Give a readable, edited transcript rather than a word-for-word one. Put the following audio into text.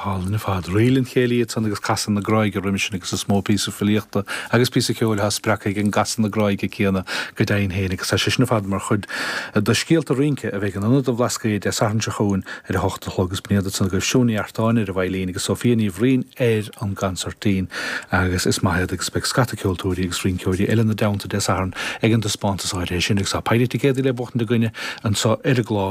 hálainn ar fad. Ríl an Chéilí ansan agus Casadh na Gráige roimis sin agus is mó píosa filíochta agus píosa ceoil atá spreagtha ag an gcasadh na gráige céanna go deimhin féin agus tá sé sin ar fad mar chuid de Scéalta Rince a bheidh in Ionad an Bhlascaoid Dé Sathairn seo chugainn ar a hocht a chlog agus b'in iad ansan agaibh Siún Ní Artáin ar an veidhlín agus Sophia Ní Bhraoin ar an gconsairtín agus is maith iad agus beidh scata ceoltóirí agus rinceoirí eile ina dteannta Dé Sathairn ag an dtaispeántas áirithe sin agus tá péire ticéadaí le buachtaint againne anseo ar an gclár.